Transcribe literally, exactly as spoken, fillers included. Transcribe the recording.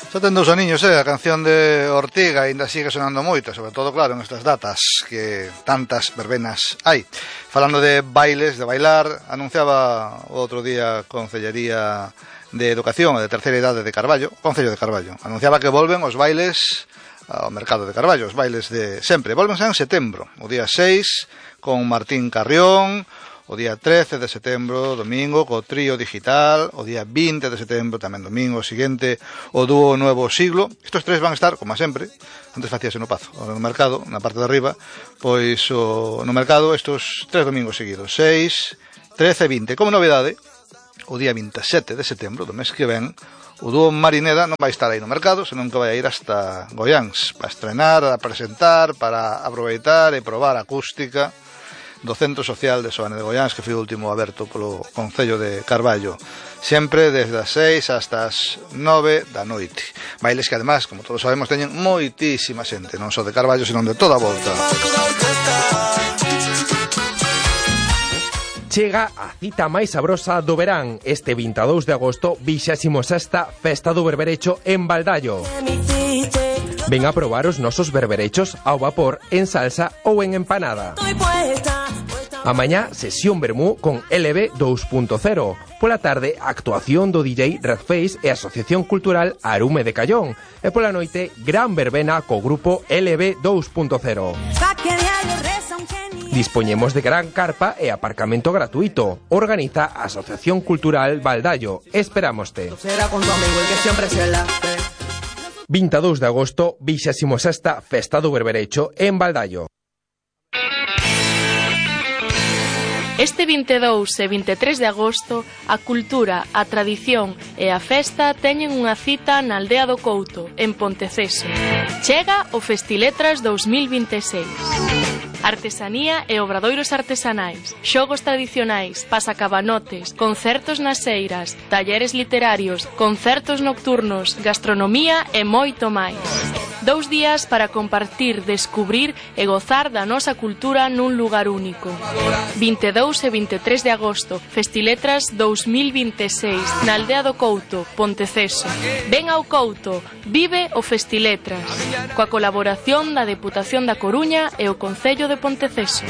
Xa ten dous aniños, eh, a canción de Ortiga ainda sigue sonando moito, sobre todo, claro, en estas datas que tantas verbenas hai. Falando de bailes, de bailar, anunciaba o outro día a Concellería de Educación e de Terceira Idade de Carballo, Concello de Carballo, anunciaba que volven os bailes ao mercado de Carballo, os bailes de sempre. Volvense en setembro, o día seis, con Martín Carrión, o día trece de setembro, domingo, co Trío Digital, o día vinte de setembro, tamén domingo, o seguinte, o dúo Nuevo Siglo. Estos tres van a estar, como sempre, antes facíase no Pazo, no mercado, na parte de arriba, pois o, no mercado estos tres domingos seguidos, seis, trece e vinte. Como novedade, o día veintisiete de setembro, do mes que ven, o dúo Marineda non vai estar aí no mercado, senón que vai ir hasta Goiáns, para estrenar, a presentar, para aproveitar e probar acústica do Centro Social de Soane de Goiáns, que foi o último aberto polo Concello de Carballo, sempre desde as seis hasta as nove da noite. Bailes que además, como todos sabemos, teñen moitísima xente, non só de Carballo, senón de toda a volta. Chega a cita máis sabrosa do verán, este vinte e dous de agosto, vixésima sexta Festa do Berberecho en Baldallo. Ven a probar os nosos berberechos ao vapor, en salsa ou en empanada. A mañá, sesión vermú con L B dos punto cero. Pola tarde, actuación do D J Redface e Asociación Cultural Arume de Callón. E pola noite, gran verbena co grupo L B dos punto cero. Dispoñemos de gran carpa e aparcamento gratuito. Organiza a Asociación Cultural Baldallo. Esperámoste. vinte e dous de agosto, vixésima sexta Festa do Berberecho en Baldallo. Este vinte e dous e vinte e tres de agosto, a cultura, a tradición e a festa teñen unha cita na Aldea do Couto, en Ponteceso. Chega o Festiletras dous mil vinte e seis. Artesanía e obradoiros artesanais, xogos tradicionais, pasacabanotes, concertos nas eiras, talleres literarios, concertos nocturnos, gastronomía e moito máis. Dous días para compartir, descubrir e gozar da nosa cultura nun lugar único. vinte e dous e vinte e tres de agosto, Festiletras dous mil vinte e seis, na Aldea do Couto, Ponteceso. Ven ao Couto, vive o Festiletras, coa colaboración da Deputación da Coruña e o Concello de Ponteceso.